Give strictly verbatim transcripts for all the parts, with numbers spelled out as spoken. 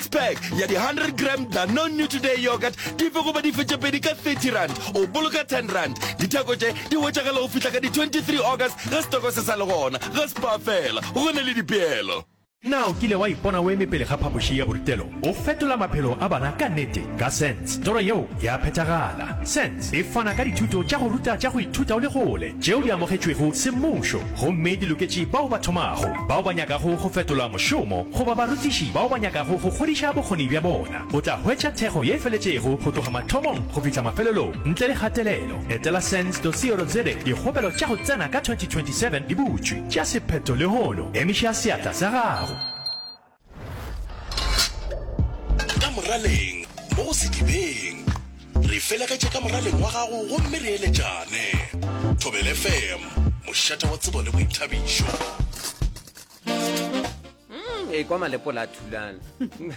six pack ya di hundred gram Danone Nutriday Yoghurt dife goba dife tše pedi ka thirty rand, o boloka ten rand. Ditheko tše di hwetšagala go fihla ka di twenty three August ge setoko se sa le gona. Ga Spar fela, go na le dipeelo. Na o kile wa ipona o eme pele ga phapoši ya borutelo o fetola maphelo a bana ka nnete? Ka SENS, toro yeo ya phethagala. SENS e fana ka dithuto tša go ruta tša go ithuta o le kgole tšeo di amogetšwego semmušo gomme di loketše bao ba thomago, bao ba nyakago go fetola mošomo goba barutiši bao ba nyakago go godiša bokgoni bja bona. O tla hwetša thekgo ye e feletšego go tloga mathomong go fihla mafelelong ntle le kgatelelo. Etela sens dot co dot za. Dikgopelo tša go tsena ka twenty twenty seven di butšwe. Tšea sephetho lehono. Emiša seatla sa gago. Ka moraleng mo go sedibeng. Re felegetše ka moraleng wa gago gomme re eletšane. Thobela F M, mošate wa tsebo le boithabišo. Mm, e kwa malepola a thulana.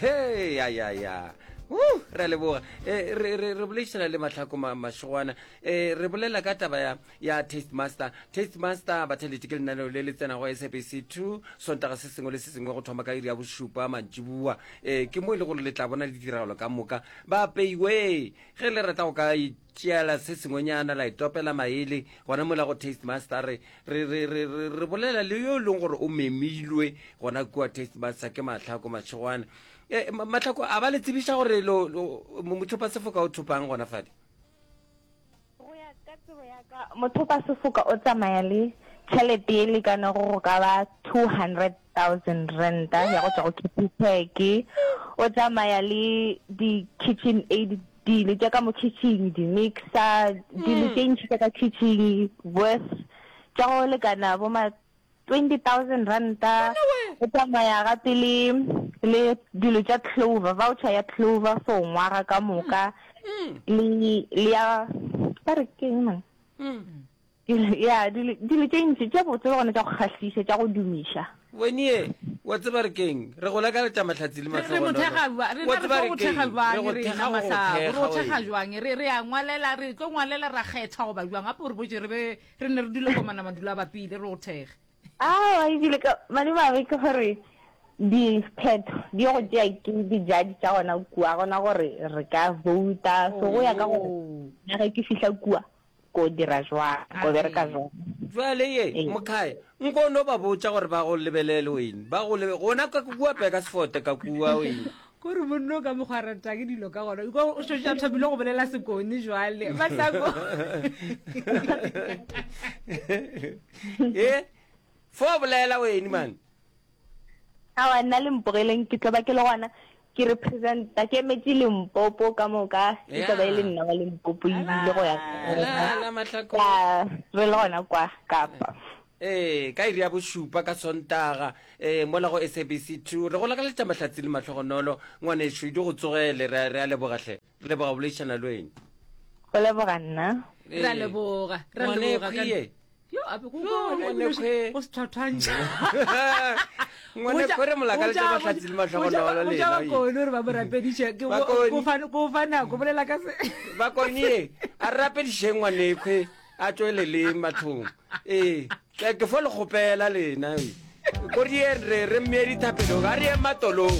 Hey, ya, ya, ya. Uh, re a leboga. Eh, re, re, re boledišana le Mahlako ma, Mašogwana. Eh, re bolela ka taba ya, ya Taste Master. Taste Master, batheletši, ke lenaneo le le tsenago S A B C two, Sontaga se sengwe le se sengwe go thoma ka iri ya bošupa mantšiboa. Eh, ke mo e le gore le tla bona ditiragalo ka moka. Ba apeiwe. Ge le rata go ka itšeela se sengwenyana, la itopela maele, gona mola go Taste Master, re, re, re, re, re, re bolela le yo e leng gore o memilwe gona kua Taste Master, ke Mahlako Mašegwana. Eh, Ma-, Mahlako, a ba le tsebiša gore lo, lo, mothopa sefoka o thopang gona fale? Go ya ka tsebo ya ka, mothopa sefoka o tsamaya le tšhelete e lekanego go ka ba two hundred thousand ranta ya go tšwa go Capitec. O tsamaya le di-kitchen aid, dilo tša ka mo kitchen, di-mixer, dilo tše ntši tša ka kitchen worth tša go lekana bo ma twenty thousand ranta. O tsamaya gape le, le dilo tša Clover, voucher ya Clover for ngwaga ka moka, le, le ya, ba re ke eng man? Ya, dilo, dilo tše ntši tše botse le gona tša go kgahliša, tša go dumiša. Wenie, wa tseba re keng? Re go lakaletša mahlatsi le Re, re mo mahlogonolo. thekga bja-, re Wa na re tseba tlo re go keng? thekga Re bjang go rena, thekga go go Mahlako? Re go thekga, thekga wee. bjang? Re, re a ngwalela, re tlo ngwalela ra kgetha goba bjang? Gape o re botše re be re ne re dule komana madulo a bapile, re go thekge. Aowa, ebile ka madimabe ke gore diphetho di go tšea ke di-judge tša gona kua, gona gore re ka vouta. So go ya ka gore Oh. nna ge ke fihla kua ko dira jwang, ko bereka jwang. Jwale ye, Ee. Mokhae, nko no ba botša gore ba go lebelele wene, ba go lebe, gona ka kua peka sefote ka kua wene. Kore monno ka mokgwa a ratang dilo ka gona, o šetše a thomile go bolela sekone jwale. Mahlako. E, fo bolela wene man. Aowa, nna le mpogeleng ke tlo ba ke le gona ke representa, ke emetše Limpopo ka moka, e tlo ba e le nna wa Limpopo ebile go ya La, la Mahlako. Ka, re le gona kwa Kapa. Ee, ka iri ya bošupa ka Sontaga, ee, mola go S A B C two, re go lakaletša mahlatsi le mahlogonolo, ngwanešu, di go tsogele, re a, re a leboga hle, re leboga go boledišana le wena. Go leboga nna. Ee. Re a leboga, re a Ngwane leboga ka Khwie. Yo, a be go Yo, go, ngwane go Khwe. go se thwathwantšha. Ngwane Go ja- Khwe re mo lakaletša go ja- mahlatsi le go ja- mahlogonolo go le ja yena, oye. Bakone gore ba mo rapediše, ke go- Bakone. go fa- go fa nako, bolela ka se. Bakone ye, a re rapedišeng ngwane Khwe, a tšwelele mathong. Ee, ke, ke fo le kgopela lena, oye. Ko re ye, re, re mmee dithapelong, a re ye matolong.